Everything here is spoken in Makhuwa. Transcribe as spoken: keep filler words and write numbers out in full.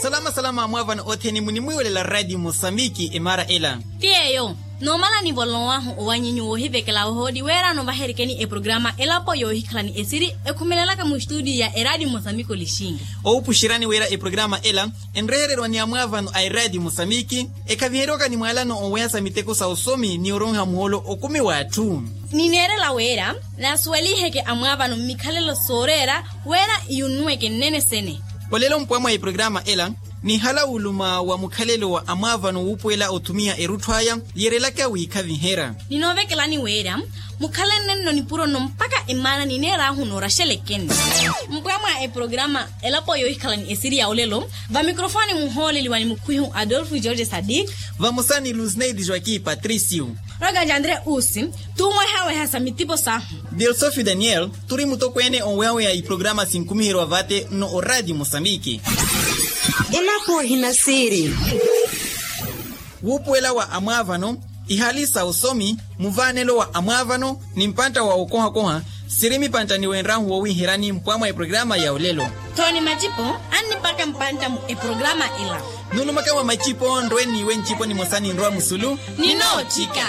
Salama salama amwaavano othene munimwiiwelela radio mosambiki emaara ela. Ti yeeyo, noomala nivolowahu owanyinyu woohivekela ohooli weerano vaherikeni eprograma elapo yoohikhalani esiri ekhumelelaka mustudio ya eradio mosambiki olixinga. Owupuxeryani wira eprograma ela enrehererwa ni amwaavano a eradio mosambiki, ekhaviheryaka ni mwaalano oweha sa miteko sa osomi ni oronha muhoolo okumi w'atthu. Nineerela wira naasuweliheke amwaavano mmikhalelo sooreera wira iyunnweke nnene sene. Olelo mpwamwa eprograma ela nihala wuluma wa mukhalelo wa amwaavano wuupuwela othumiha erutthu aya, yeerelaka wiikhaviherya. Ninoovekelani wira mukhalenne nno nipuro nno mpakha emaana nineeraahu nooraxelekeni. Mpwamwa eprograma elapo yoohikhalani esiri ya olelo, vamikrofoni muhooleliwa ni mukhwihu adolfo george sadik, vamosa ni lusneidi joaquim patricio, roganja andre usi, tuuwehaweha sa mitipo sahu. Dilsofi daniel, turi mutokweene owehaweha iprograma sinkumiherwa vate nno oradio mosambiki. Elapo ehinasiiri. Wuupuwela wa amwaavano, ihaali sa osomi, muvaanelo wa amwaavano ni mpantta wa okohakoha, siri mipantta niwenraahu woowiherani mpwamwa eprograma ya olelo. Tho ni macipo annipaka mpantta mu eprograma ela. Nuulumaka mwa macipo nrwe n'iwe ncipo nimosa ninrwa musulu. Ninootthika.